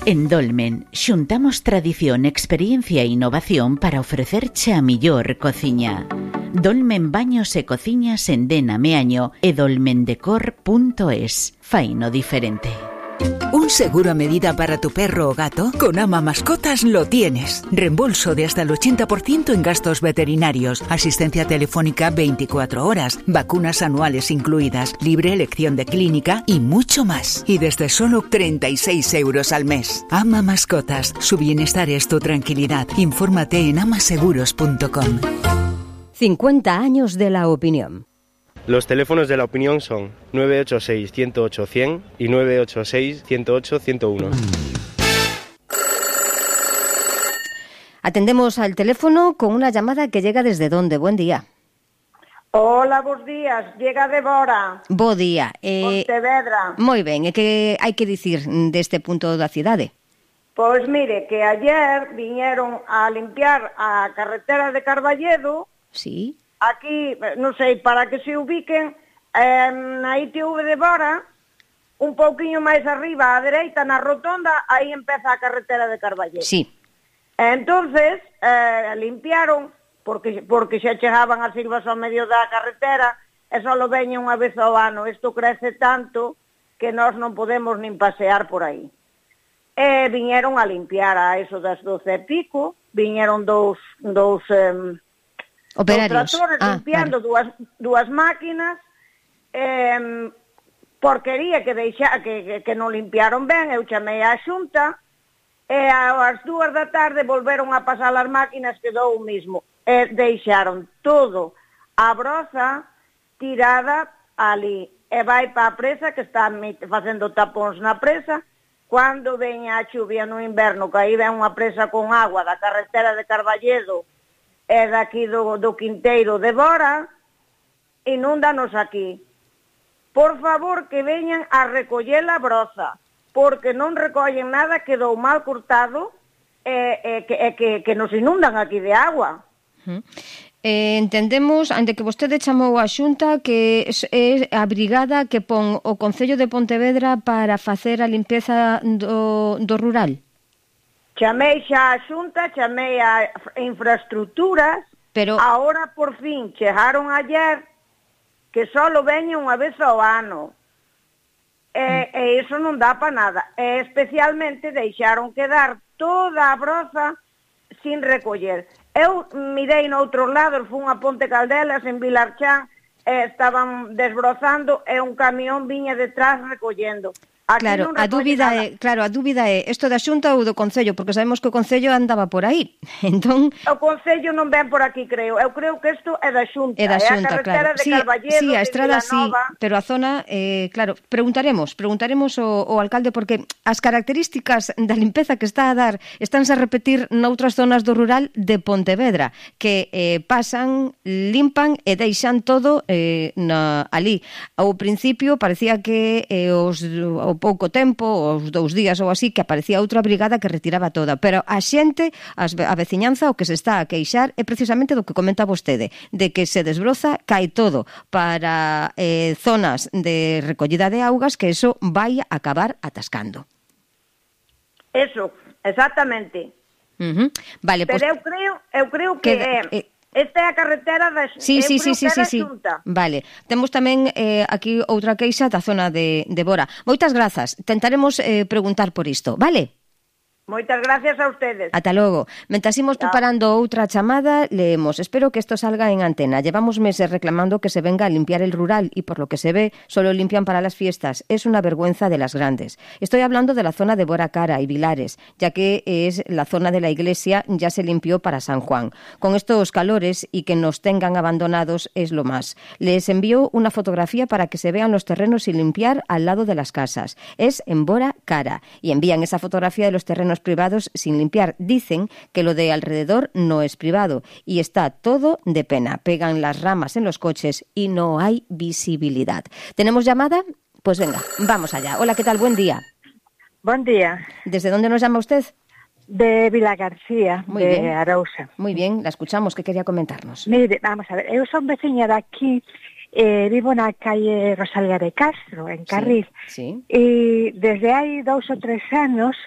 En Dolmen, xuntamos tradición, experiencia e innovación para ofrecerche a millor cociña. Dolmen Baños e Cociñas en Dena Meaño e dolmendecor.es. Faino diferente. ¿Un seguro a medida para tu perro o gato? Con Ama Mascotas lo tienes. Reembolso de hasta el 80% en gastos veterinarios, asistencia telefónica 24 horas, vacunas anuales incluidas, libre elección de clínica y mucho más. Y desde solo 36 euros al mes. Ama Mascotas. Su bienestar es tu tranquilidad. Infórmate en amaseguros.com. 50 años de la opinión. Los teléfonos de la opinión son 986-108-100 y 986-108-101. Atendemos al teléfono con una llamada que llega desde donde. Buen día. Hola, bons días. Llega Débora. Bo día. Pontevedra. Moi ben, e que hai que dicir deste punto da cidade? Pois mire, que ayer viñeron a limpiar a carretera de Carballedo. Sí. Aquí, non sei, para que se ubiquen, na ITV de Bora, un pouquiño máis arriba, á dereita, na rotonda, aí empeza a carretera de Carballedo. Sí. Entonces, limpiaron, porque xa chegaban as silvas ao medio da carretera, e só lo veñen unha vez ao ano. Isto crece tanto que nós non podemos nin pasear por aí. E viñeron a limpiar a eso das 12 e pico, viñeron dous operarios. Tratores limpiando vale. dúas máquinas, porquería que non limpiaron ben. Eu chamei á Xunta, e ás 2 da tarde volveron a pasar as máquinas, quedou o mismo. E deixaron todo a broza tirada ali, e vai para a presa, que está facendo tapóns na presa. Cando veña a chuvia no inverno, que aí ven unha presa con agua da carretera de Carballedo, e daqui do Quinteiro de Bora, inúndanos aquí. Por favor, que veñan a recoller a broza, porque non recollen nada, quedou mal cortado, que nos inundan aquí de agua. Entendemos, ante que vostede chamou a Xunta, que é a brigada que pon o Concello de Pontevedra para facer a limpeza do rural. Chamei xa a Xunta, chamei a infraestructuras, pero ahora por fin chegaron ayer, que só lo veñen unha vez ao ano. E iso non dá para nada. E especialmente deixaron quedar toda a broza sin recoller. Eu mirei noutros lados, fun a Ponte Caldelas, en Vilarchán, estaban desbrozando e un camión viña detrás recollendo. Aquí claro, a dúbida é isto da Xunta ou do Concello, porque sabemos que o Concello andaba por aí. Entón, o Concello non ven por aquí, creo. Eu creo que isto é da Xunta. É da Xunta, a carretera claro. de Carballedo, sí, a estrada sí, pero a zona, claro, preguntaremos ao alcalde, porque as características da limpeza que está a dar estánse a repetir noutras zonas do rural de Pontevedra, que pasan, limpan e deixan todo ali. Ao principio parecía que ao pouco tempo, os 2 días ou así, que aparecía outra brigada que retiraba toda, pero a xente, a veciñanza, o que se está a queixar é precisamente do que comenta vostede, de que se desbroza, cae todo para zonas de recollida de augas, que eso vai a acabar atascando. Eso, exactamente. Vale, pero eu creo que esta é a carretera da Xunta. Vale. Temos tamén aquí outra queixa da zona de Bora. Moitas grazas. Tentaremos preguntar por isto, vale? Moitas gracias a ustedes. Ata logo. Mentas imos preparando outra chamada, leemos. Espero que esto salga en antena. Llevamos meses reclamando que se venga a limpiar el rural y por lo que se ve, solo limpian para las fiestas. Es una vergüenza de las grandes. Estoy hablando de la zona de Bora Cara y Vilares, ya que es la zona de la iglesia, ya se limpió para San Juan. Con estos calores y que nos tengan abandonados es lo más. Les envío una fotografía para que se vean los terrenos sin limpiar al lado de las casas. Es en Bora Cara y envían esa fotografía de los terrenos privados sin limpiar. Dicen que lo de alrededor no es privado y está todo de pena. Pegan las ramas en los coches y no hay visibilidad. ¿Tenemos llamada? Pues venga, vamos allá. Hola, ¿qué tal? Buen día. Buen día. ¿Desde dónde nos llama usted? De Vilagarcía, Muy de bien. Arousa. Muy bien, la escuchamos. ¿Qué quería comentarnos? Mire, vamos a ver, eu son veciña de aquí, vivo na calle Rosalía de Castro, en Carril, sí. e desde hai 2 ou 3 anos